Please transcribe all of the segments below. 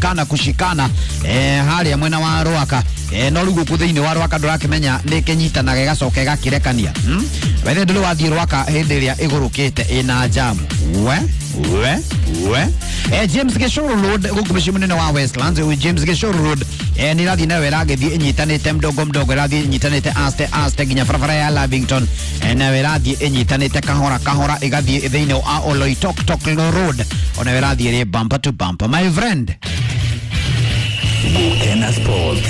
Kana kushikana haria mwena wa Rwaka no riu guku thiini wa Rwaka ndurakimenya ni kinyitanaga igacoka igakirekania bethe nduri wathii Rwaka hindi iria igurukite ina jamu we we we James Gishuru Road guku mucii munene wa Westlands James Gishuru Road ni irathii nayo iragithii inyitanite mdogo mdogo irathii inyitanite aste aste nginya barabara ya Lavington nayo irathii inyitanite kahora kahora igathii thiini wa Oloitoktok Road onayo irathii iri bumper to bumper my friend. Gukena Sports.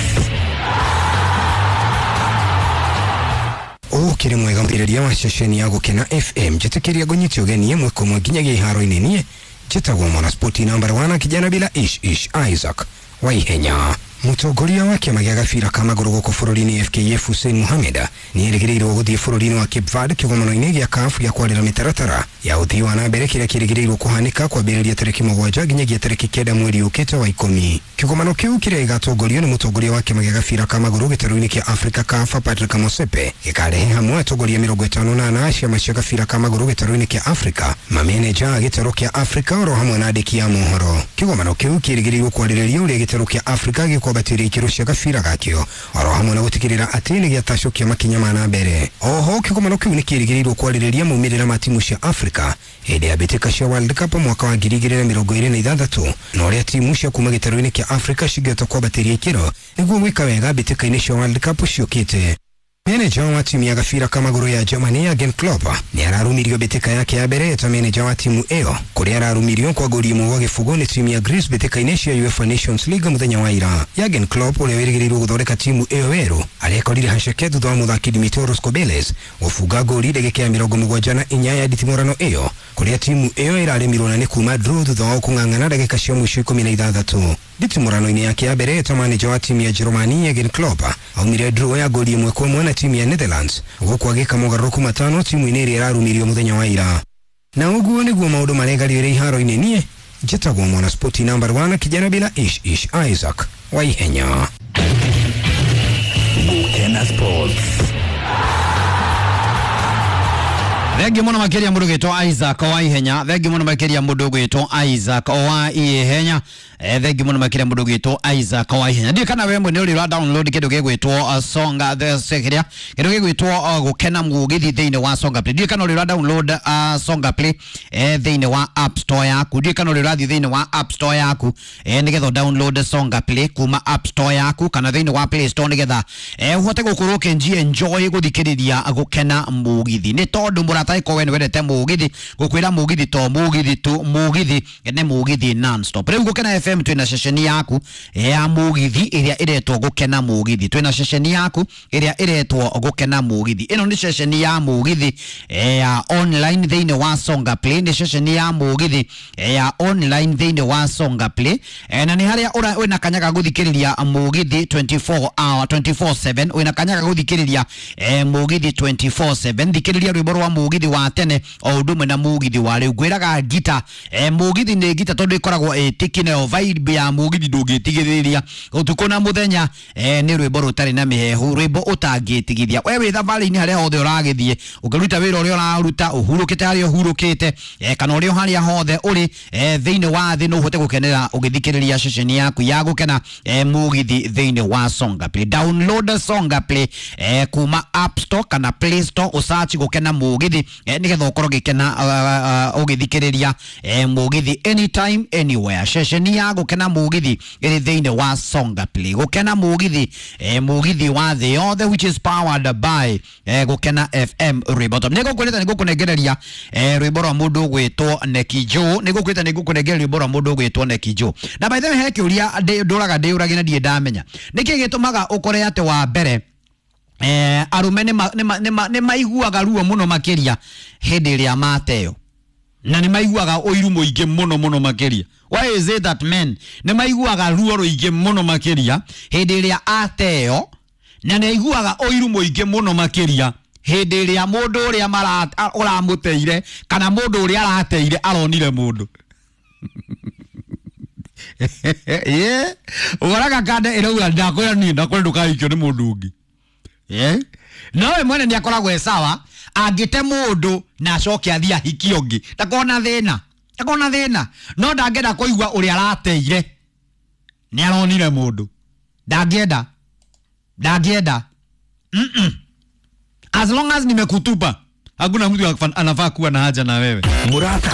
Ukiri mwega mbiriria wa ceceni ya Gukena FM njitikiria ngũnyite ũgeni ĩmwe kwa ĩmwe nginyagia iharo-inĩ niĩ njĩtagwo mwana spoti namba 1 kijana bila ish ish Isaac Waihenya. Mũtongoria wa kĩama gĩa gabira ka magũrũ gũkũ bũrũri-inĩ FKF Hussein Mohamed nĩ erĩgĩrĩirwo gũthiĩ bũrũri-inĩ wa Cape Verde kĩgomano-inĩ gĩa CAF gĩa kwarĩra mĩtaratara ya ũthii wa na mbere kĩrĩa kĩrĩgĩrĩirwo kũhanĩka kwambĩrĩria tarĩki 7 nginyagia tarĩki 9 mweri ũkĩte wa 10. Kĩgomano kĩu kĩrĩa gĩgatongorio nĩ mũtongoria wa kĩama gĩa gabira ka magũrũ gĩtarũ-inĩ kĩa Africa CAF Patrick Motsepe gĩkarehe hamwe atongoria 58 a ciama cia gabira ka magũrũ gĩtarũ-inĩ kĩa Africa, mameneja a gĩtarũ kĩa Africa oro hamwe na andĩki a mohoro. Kĩgomano kĩu kĩrĩgĩrĩirwo kwarĩrĩria ũrĩa gĩtarũ kĩa Africa gĩkwambatĩria ikĩro cia gabira gakĩo oro hamwe na gũtigĩrĩra atĩ nĩ gĩatacũkia makinya ma na mbere. Oho kĩgomano kĩu nĩ kĩrĩgĩrĩirwo kwarĩrĩria maumĩrĩra ma timu cia Africa hĩndĩ ya mbĩtĩka cia World Cup mwaka wa 2026 na ũrĩa timu cia kuma gĩtarũ-inĩ kĩa Africa cingĩhota kwambatĩria ikĩro nĩguo gwĩka wega mbĩtĩka-inĩ cia World Cup ciũkĩte. Meneja wa timu ya gabira ka magũrũ ya Germany Jurgen Klopp nĩ ararumirio mbĩtĩka yake ya mbere ta meneja wa timu ĩyo kũrĩa ararumirio kwa ngori ĩmwe gwa gĩbũgũ nĩ timu ya Greece mbĩtĩka-inĩ cia UEFA Nations League mũthenya wa ira. Jurgen Klopp ũrĩa wĩrĩgĩrĩirwo gũthondeka timu ĩyo werũ arekorire haceke thutha wa mũthaki Dimitrios Kobeles gũbunga ngori ndagĩka ya 74 ya nditimũrano ĩyo kũrĩa timu ĩyo ĩraremirwo na nĩ kuma draw thutha wa kũng'ang'ana ndagĩka cia mũico 16. Nditimũrano-inĩ yake ya mbere ta maneja wa timu ya Jerumani Jurgen Klopp aumire draw ya ngori ĩmwe kwa ĩmwe na timu ya Netherlands gũkũ agĩka mogarũrũku matano timu-inĩ ĩrĩa ĩrarumirio mũthenya wa ira. Na ũguo nĩguo maũndũ maregarĩire iharo-inĩ niĩ njĩtagwo mwana spoti namba 1 kijana bila ish ish Isaac Waihenya. Gukena Sports. Thengi muno makiria mundu gwitwo Isaac Waihenya. Thengi muno makiria mundu gwitwo Isaac Waihenya. Thengi muno makiria mundu gwitwo Isaac Waihenya. Ndiũ kana we mwene uri ra download kindu gigwitwo Songa the sekiria kindu gigwitwo Gukena Mugithi thiini wa Songa Play. Ndiũ kana uri ra download Songa Play thiini wa App Store yaku. Ndiũ kana uri rathi thiini wa App Store yaku nigetha download Songa Play kuma App Store yaku kana thiini wa Play Store nigetha uhote gukorwo ukinji enjoy guthikiriria Gukena Mugithi ni tondu murata iko we wendete mugithi gukwira mugithi to mugithi tu mugithi ne mugithi non stop. Riu Gukena FM twina ceceni yaku ya mugithi iria iretwo Gukena Mugithi. Twina ceceni yaku iria iretwo Gukena Mugithi. Ino ni ceceni ya mugithi ya online thiini wa Songa Play. Ni ceceni ya mugithi ya online thiini wa Songa Play na ni haria ura wina kanyaga guthikiriria mugithi 24 hour 24/7 wina kanyaga guthikiriria mugithi 24/7 thikiriria rwimbo rwa mugithi wa tene o undu umwe na mugithi wa riu ngwiraga ngita mugithi ni ngita tondu ikoragwo itiki nayo vibe ya mugithi ndungitigithĩria utuku na muthenya ni rwimbo rutari na mihehu rwimbo utangitigithia we wi thabarĩ-inĩ haria hothe uragithie ukiruta wira uria uraruta uhurukite haria uhurukite kana uria haria hothe uri thiini wa thi no uhote gukenera ugithikiriria ceceni yaku ya Gukena Mugithi thiini wa Songa Play. Download Songa Play kuma App Store kana Play Store usearch Gukena Mugithi nigetha ukorwo gikena ugithikiriria mugithi anytime anywhere. Ceceni ya Gukena Mugithi iri thiini wa Songa Play. Gukena Mugithi mugithi wa thi yothe which is powered by Gukena FM rwimbo. Nigukwirite nigukunengereria rwimbo rwa mundu ugwitwo Neki Joe. Nigukwirite nigukunengereria rwimbo rwa mundu ugwitwo Neki Joe. Na by the way he kiuria nduraga ndiuragia na ndirĩ ndamenya niki gitumaga ukore ati wa mbere arume nĩ maiguaga ruo muno makiria hindi ĩrĩa mateo na nĩ maiguaga ũiru mũingĩ mũno mũno makiria. Why is it that men nĩ maiguaga ruo rũingĩ mũno makiria hindi ĩrĩa ateo na nĩ aiguaga ũiru mũingĩ mũno makiria hindi ĩrĩa mũndũ ũrĩa ũramũteire kana mũndũ ũrĩa arateire aronire mũndũ? Yeah, ũgoraga kande ĩrauga ndakwĩra niĩ ndakwĩra ndũkahikio nĩ mũndũ ũngĩ. No we mwene nĩ akoragwo e sawa angĩte mũndũ na acoke athiĩ ahikie ũngĩ ndakona thĩna ndakona thĩna no ndangĩenda kũigua ũrĩa arateire Nĩ aronire mũndũ. Ndangĩenda. Ndangĩenda. As long as nimekutupa, hakuna mtu anafaa kuwa na haja na wewe. Murata.